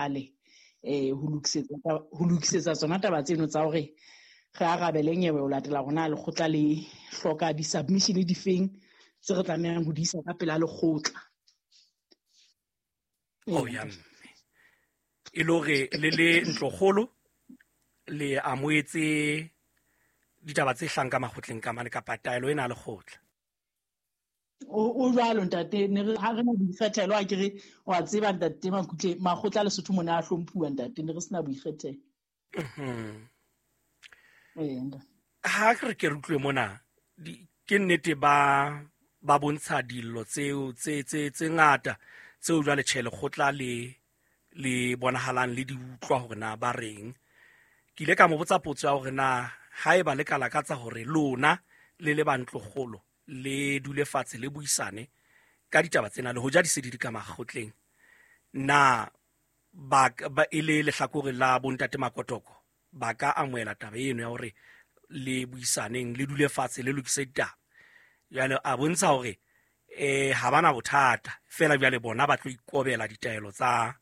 jwale ho lokisetsa tsona taba tseno tsa hore re arabele nyewe ho latela rona lekgotla le hloka di-submission difeng tse re tlamehang ho di isa ka pela lekgotla. Oh ya mme e le hore le le ntlokgolo le amoetse ditaba tse hlang ka makgotleng ka mane kapa taelo ena lekgotla? O jwalo ntate, ne re ha re na boikgethelo, a ke re wa tseba ntate Makutle, makgotla a Lesotho mona a hlomphuwa ntate, ne re sena boikgethelo. Ha re ke re utlwe mona, ke nnete ba bontsha dillo tseo tse ngata tseo jwale tjhe lekgotla le bonahalang le di utlwa hore na ba reng. Ke ile ka mo botsa potso ya hore na haeba le ka lakatsa hore lona le le ba ntlokgolo le dule fatshe le buisane ka ditaba tsena le hoja di se di di ka makgotleng, na ba e le lehlakore la bontate Makotoko ba ka amohela taba eno ya hore le buisaneng le dule fatshe le lokise ditaba? Jwale a bontsha hore ha bana bothata, fela jwale bona ba tlo ikobela ditaelo tsa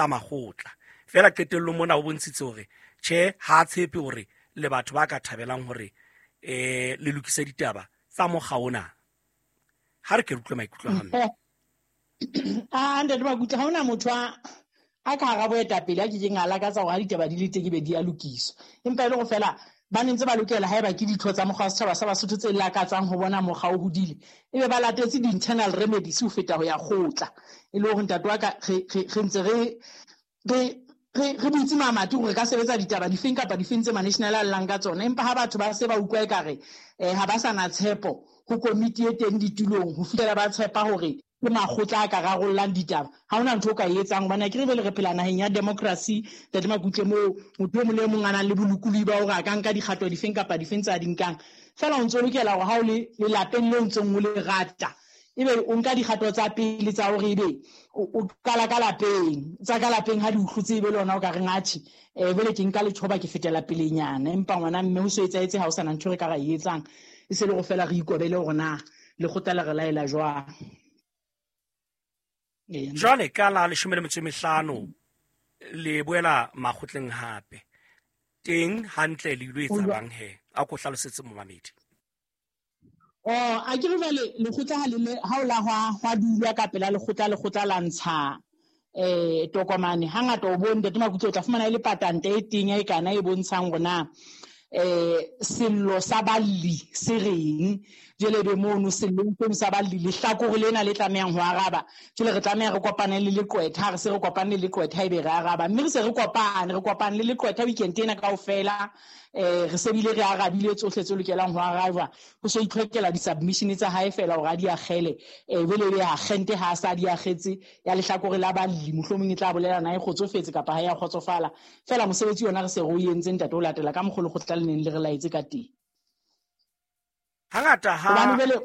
makgotla. Fela qetellong mona o bontshitse hore tjhe ha tshepe hore le batho ba ka thabelang hore le lokise ditaba tsa mokga ona. Ha re ke re utlwe maikutlo a mme. A ntate Makutle, ha hona motho a ka hara boetapele a kekeng a lakatsa hore ha ditaba di le teng ebe di a lokiswa. Empa e le hore fela ba ne ntse ba lokela haeba ke ditho tsa mokgwa wa setjhaba sa Basotho tse lakatsang ho bona mokgwa o hodile, ebe ba latetse di-internal remedies ho feta ho ya kgotla. E le hore ntate wa ka re ntse re butse mamati hore re ka sebetsa ditaba difeng kapa difeng tse ma-national a llang ka tsona. Empa ha batho ba se ba utlwa ekare ha ba sa na tshepo ho komiti e teng ditulong ho fihlela ba tshepa hore ke makgotla a ka rarollang ditaba, ha hona ntho o ka e etsang. Hobane akere jwale re phela naheng ya democracy, ntate Makutle, moo motho e mong le e mong a nang le bolokolohi ba hore a ka nka dikgato difeng kapa difeng tse a di nkang. Feela o ntso lokela hore ha o le lelapeng leo ntseng o le rata, ebe o nka dikgato tsa pele tsa hore ebe o qala ka lapeng, tsa ka lapeng ha di utlwetse ebe le hona o ka reng atjhe, jwale ke nka letjhoba ke fetela pelenyana. Empa ngwana mme ho so etsahetse ha o sana ntho e re ka ra e etsang, e se le hore feela re ikobele hore na lekgotla le re laela jwang. Jwale ka la 15 le boela makgotleng hape teng hantle le ilo etsa bang he? A ko hlalosetse momamedi. Oh, a ke re jwale lekgotla ha le le, ha o la hwa dulwa ka pela lekgotla, lekgotla la ntsha tokomane. Hangata o bone ntate Makutle o tla fumana e le patante e teng e kana e bontshang hore na sello sa balli se reng. Jwale be mono sellong seno sa balli lehlakore lena le tlamehang ho araba. Jwale re tlameha re kopane le leqwetha, ha re se re kopane le leqwetha ebe re araba. Mme re se re kopane, re kopane le leqwetha weekend ena kaofela. Re se bile re arabile tsohle tse lokelang ho arajwa. Ho so itlhokela di-submission tsa hae feela hore a di akgele. Jwale ebe akgente ha a sa di akgetse ya lehlakore la balli, mohlomong e tla bolela na e kgotsofetse kapa ha e a kgotsofala. Feela mosebetsi ona re se re o entse ntate o latela ka mokgwa lekgotla le neng le re laetse ka teng. Hangata ha Hobane jwale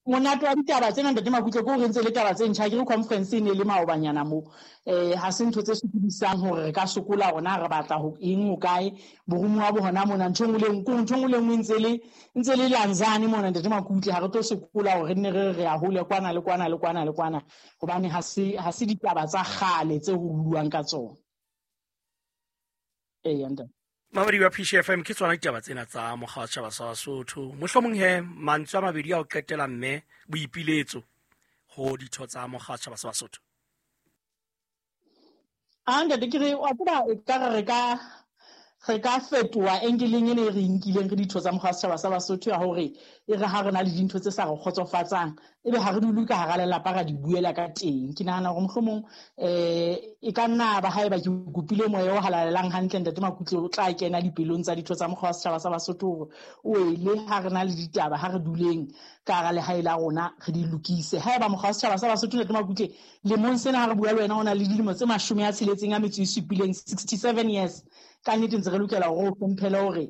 monate wa ditaba tsena ntate Makutle ke hore ntse le taba tse ntjha. Ke re conference e ne le maobanyana mo. Ha se ntho tse sokodisang hore re ka sokola hore na re batla ho eng ho kae. Boromuwa bo hona mona, ntho e nngwe le nngwe, ntho e nngwe le nngwe ntse le lanzane mona ntate Makutle. Ha re tlo sokola hore re nne re re ya hole kwana le kwana le kwana le kwana, hobane ha se ditaba tsa kgale tse ho buuwang ka tsona. Eya, ntate. Mamedi wa Phishi FM, ke tsona ditaba tsena tsa mokga wa setjhaba sa Basotho. Mohlomong he mantswe a mabedi a ho qetela mme boipiletso ho ditho tsa mokga wa setjhaba sa Basotho. A ntate, ke re wa tseba e ka re re ka fetoha engeleng ena e re nkileng re ditho tsa mokga wa setjhaba sa Basotho ya hore e re ha re na le dintho tse sa re kgotsofatsang, ebe ha re dule ka hara lelapa ra di buela ka teng. Ke nahana hore mohlomong e ka nna ba haeba ke kopile moya o halalelang hantle ntate Makutle o tla kena dipelong tsa ditho tsa mokgwa wa setjhaba sa Basotho hore o ele ha re na le ditaba, ha re duleng ka hara lehae la rona re di lokise. Haeba mokgwa wa setjhaba sa Basotho ntate Makutle lemong sena ha re bua le wena o na le dilemo tse 67, 67 years, ka nnete ntse re lokela hore o hlomphele hore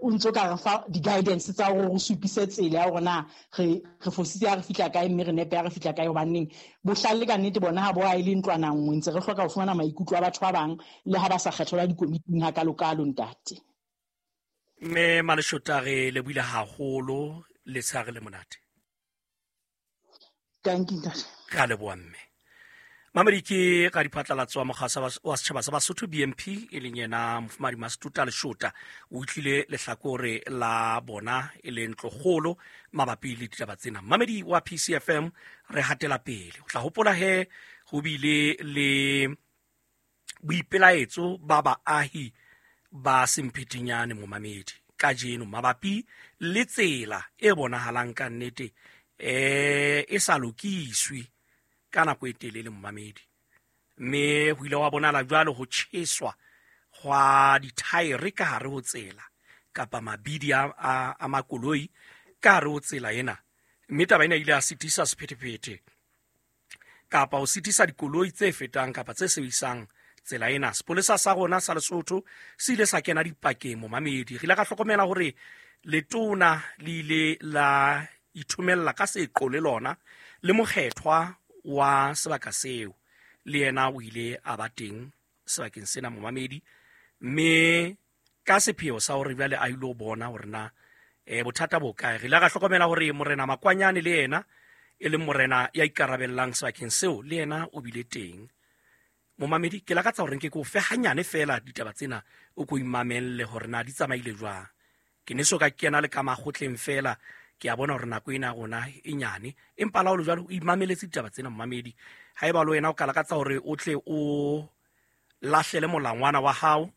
o ntso ka re fa di-guidance tsa hore re supise tsela ya hore na re fositse ha re fihla kae mme re nepe ha re fihla kae. Hobaneng bohlale ka nnete bona ha bo a e le ntlwana nngwe, ntse re hloka ho fumana maikutlo a batho ba bang le ha ba sa kgethelwa dikomiting hakalokalo ntate. Mme Maleshota, re lebohile haholo, letshehare le monate. Thank you, ntate. Re a leboha mme. Mamedi ke ka diphatlalatso wa mokgasa wa setjhaba sa Basotho BMP, e leng yena Mofumadi Masituta Leshota, o utlwile lehlakore la bona e leng ntlokgolo mabapi le ditaba tsena. Mamedi wa PCFM, re hatela pele. O tla hopola he ho bile le boipelaetso ba baahi ba Semphetenyane, momamedi, kajeno mabapi le tsela e bonahalang ka nnete e sa lokiswe ka nako e telele, momamedi, mme ho ile wa bonala jwalo ho tjheswa hwa dithaere ka hare ho tsela kapa mabidi a makoloi ka hare ho tsela ena, mme taba ena ile ya sitisa sephethephethe kapa ho sitisa dikoloi tse fetang kapa tse sebedisang tsela ena. Sepolesa sa rona sa Lesotho se ile sa kena dipakeng, momamedi. Re ile ka hlokomela hore letona le ile la ithomella ka seqo le lona, le mokgethwa wa sebaka seo le yena o ile a ba teng sebakeng sena, momamedi, mme ka sepheo sa hore jwale a ilo bona hore na bothata bo kae. Re ile ra hlokomela hore Morena Makwanyane le yena, e leng morena ya ikarabellang sebakeng seo, le yena o bile teng, momamedi. Ke lakatsa hore nke ke o fe hanyane fela ditaba tsena, o ko imamelle hore na di tsamaile jwang. Ke ne so ka kena le ka makgotleng fela, ke a bona hore nako ena ya rona e nyane, empa la ho le jwalo o imameletse ditaba tsena, momamedi. Haeba le wena o ka lakatsa hore o tle o lahlele molangwana wa hao,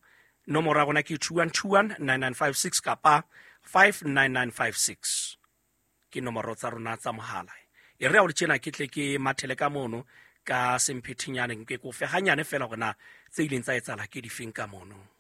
nomoro ya rona ke 2121 9956 kapa 59956, ke nomoro tsa rona tsa mohala. E re ha o le tjena, ke tle ke mathele ka mono ka Semphethinyane, nke ko fe hanyane fela hore na tse ileng tsa etsahala ke difeng ka mono.